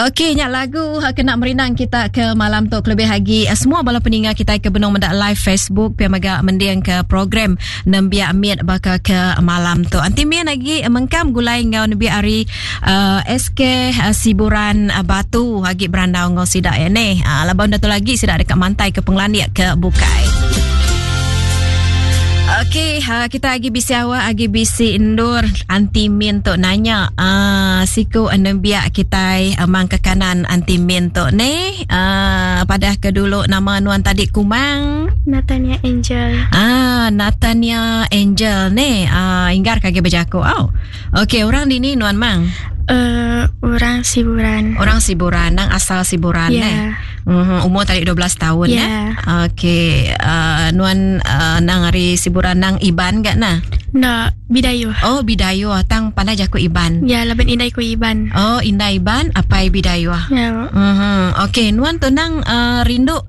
Okey, nya lagu kena merindang kita ke malam tu kelebih agi semua bala peninga kita ke benung meda live Facebook pia mega mending ke program nembiak mit baka ke malam tu. Anti min agi mengkam gulai enggau nembiak ari uh, SK uh, Siburan uh, Batu agi berandau enggau sida ya neh. Uh, laban dah tu lagi sida deka mantai ke pengelandik ke bukai. Okey, ha, kita agi bisi awak, agi bisi endur anti min tu nanya uh, siku nembiak kitai uh, mang ke kanan anti min tu ni. Uh, padah ke dulu nama nuan tadi Kumang. Natania Angel. Ah, Natania Angel ni. Ah, inggar kagi bejaku. Oh. Okey, orang dini nuan mang. Uh, orang Siburan. Orang Siburan, nang asal Siburan yeah. eh. Mm-hmm. Umur tadi 12 tahun yeah. eh. Okey, uh, nuan uh, nang ari Siburan nang Iban gak nah? Nah, Bidayuh. Oh, Bidayuh. Tang pandai jaku Iban. Ya, laban indai ku Iban. Oh, indai Iban, apai Bidayuh. Ya. Mm-hmm. Okey, nuan tu nang uh, rindu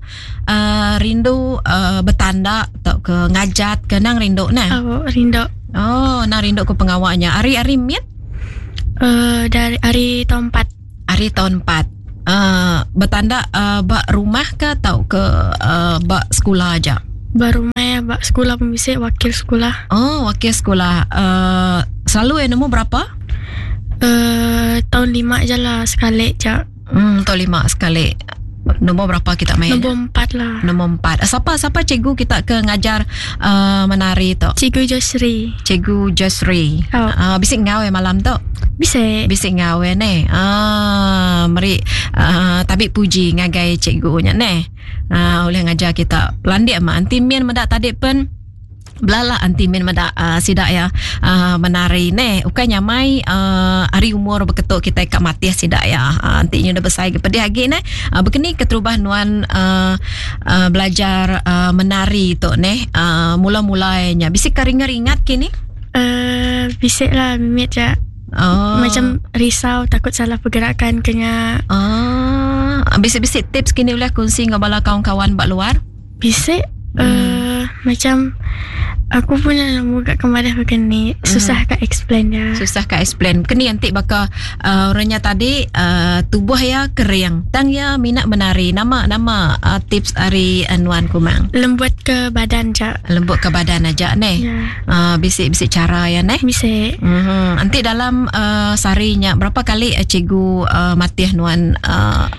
uh, rindu uh, betanda atau ke ngajat ke nang rindu nah? Oh, rindu. Oh, nang rindu ke pengawaknya. Ari-ari mit? Uh, dari ari tahun 4. Ari tahun 4. Uh, betanda uh, ba rumah ke atau ke uh, ba sekolah aja? Ba rumah ya, ba sekolah pun bisa wakil sekolah. Oh, wakil sekolah. Uh, selalu yang nombor berapa? Uh, tahun 5 je lah sekali je. Tahun 5 sekali. Nombor berapa kita main? Nombor 4 lah. Nombor 4. Siapa siapa cikgu kita ke ngajar uh, menari tu? Cikgu Josri. Cikgu Josri. Oh. Bisik ngau ya malam tu? Bisik. Bisik ngau ya ne. Ah, meri uh, tabik puji ngagai cikgunya ne. Oleh ngajar kita. Landik mak anti min medak tadi pen belala anti min meda uh, sida ya uh, menari ne ukai nyamai uh, hari umur beketuk kita ka matih sida ya uh, anti nyu dah besai ke pedih agi ne uh, bekeni keterubah nuan uh, uh, belajar uh, menari tu ne uh, mula-mula nya bisi ka ringat-ringat kini uh, bisi lah mimit ja. Oh. Macam risau takut salah pergerakan kena. Oh, bisi-bisi tips kini boleh kongsi dengan bala kawan-kawan bak luar? Bisi macam aku pun nak nemu kat kemadah begini. Susah kat explain dia. Susah kat explain. Kini nanti baka uh, orangnya tadi uh, tubuh ya kering. Tang ya minat menari. Nama nama uh, tips ari uh, Nuan Kumang. Lembut ke badan je. Lembut ke badan aja neh. Ya. Bisik-bisik cara ya neh. Bisik. Nanti dalam uh, sarinya berapa kali uh, cikgu uh, matih Nuan uh,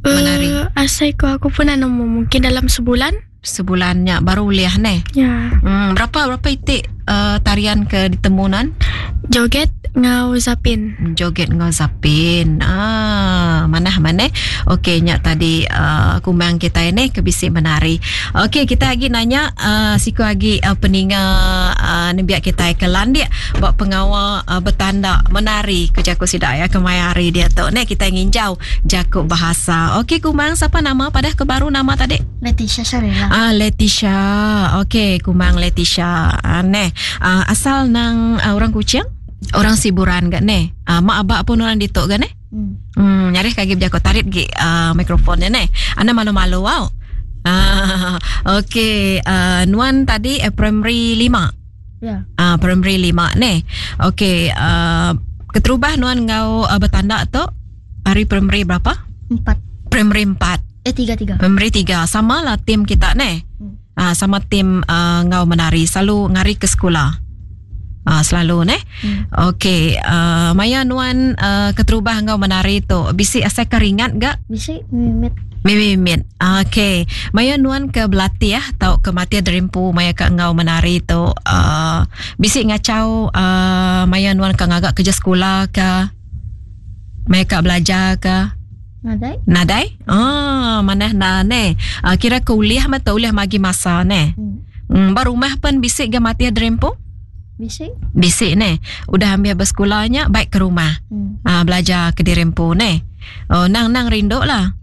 menari? Asal aku pun nak nemu mungkin dalam sebulan. Sebulannya baru uliah neh. Ya. Berapa berapa itik uh, tarian ke ditemunan? Joget ngau zapin. Joget ngau zapin. Ah, mana mana. Okey, nyak tadi uh, kumang kita ini ke bisi menari. Okey, kita lagi nanya uh, siku lagi uh, peninga uh, nembiak kita ke landik buat pengawa uh, betanda menari ke jaku sidak ya ke maya hari dia tu. Nek kita nginjau jaku bahasa. Okey, kumang siapa nama padah ke baru nama tadi? Leticia Sharela. Ah, Leticia. Okey, kumang Leticia. Ah, neh, ah, asal nang uh, orang Kuching? Orang Siburan gak neh? Ah, mak abak pun orang ditok gak neh? Nyarih kagi berjakut tarik gi uh, mikrofonnya neh. Anda malu-malu wow. Ah, okey, uh, nuan tadi eh, primary 5. Ya. Ah, primary 5 neh. Okey, uh, keterubah nuan ngau uh, bertanda tu hari primary berapa? 4. Primary 4. 3 3. Primary 3. Sama lah tim kita neh. Ah, sama tim uh, ngau menari selalu ngari ke sekolah. Ah, selalu neh. Okey, uh, maya nuan uh, keterubah ngau menari tu bisi asai keringat gak? Bisi mimit. Mimit. Okey. Maya nuan ke belatih atau ke mati derimpu maya ke ngau menari tu uh, bisi ngacau uh, maya nuan ke ngagak kerja sekolah ke? Maya ke belajar ke? Nadai. Nadai? Ah, mana na ne. Uh, kira kuliah mah tu uliah magi masa ne. Baru rumah pun bisik ge mati derimpu? Bisik. Bisik ne. Udah ambil bersekolahnya baik ke rumah. Belajar ke dirempu ne. Oh, nang nang rindu lah.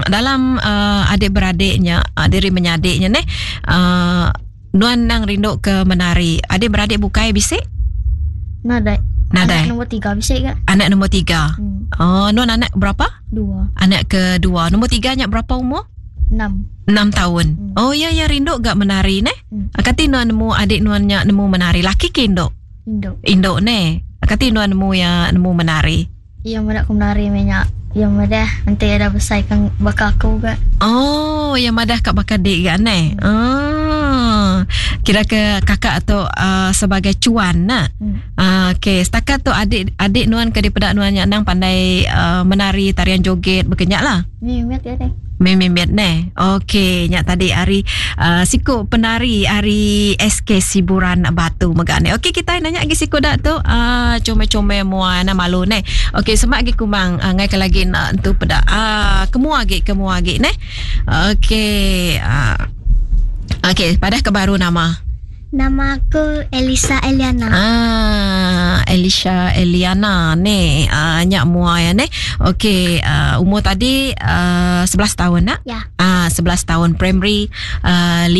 Dalam uh, adik-beradiknya, uh, diri menyadiknya ne, uh, nuan nang rindu ke menari. Adik-beradik bukai bisik? Nadai. Nadai. Anak nombor 3 bisik ke? Anak nombor 3. Oh, nuan anak berapa? 2. Anak kedua. Nombor 3 nya berapa umur? 6. 6 tahun. Oh ya ya rindu gak menari ne? Kati nuan nemu adik nuan nya nemu menari. Laki ke induk? Induk. Induk ne. Kati nuan nemu ya nemu menari. Iya menak ku menari menyak. Iya madah enti iya dah besai kan baka aku ga. Oh, iya madah ka baka dik ga neh. Oh. Kira ke kakak tu uh, sebagai cuan nak. Hmm. Uh, okey, setakat tu adik adik nuan ke dipeda nuan nya nang pandai uh, menari tarian joget bekenyak lah. Mimit ya deh. Mimit neh. Okey, nya tadi hari uh, siku penari hari SK Siburan Batu mega ne. Okey, kita nanya lagi siku dak tu uh, comel-comel mua na malu neh. Okey, semak lagi kumang uh, ngai ke lagi nak tu peda. Ah, uh, kemua lagi, kemua lagi neh. Okey, uh, okey, padah ke baru nama. Nama aku Elisa Eliana. Ah, Elisha Eliana ni. Ah, nyak mua ya ni. Okey, uh, umur tadi uh, 11 tahun nak? Ya. Ah, 11 tahun primary uh, 5.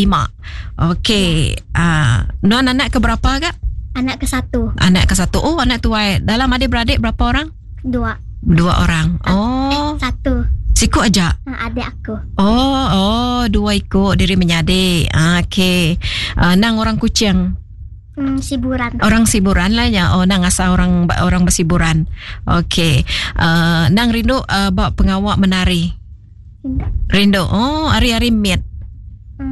Okey. Ya. Ah, nuan anak ke berapa kak? Anak ke satu. Anak ke satu. Oh, anak tuai. Dalam adik-beradik berapa orang? Dua. Dua orang. Oh. Eh, satu. Siku aja. Ha, adik aku. Oh, oh, dua ikut diri menyadik. Ah, okey. Uh, nang orang kucing. Hmm, siburan. Orang siburan lah ya. Oh, nang asal orang orang bersiburan. Okey. Uh, nang rindu uh, bak pengawak menari. Rindu. Rindu. Oh, hari-hari mit.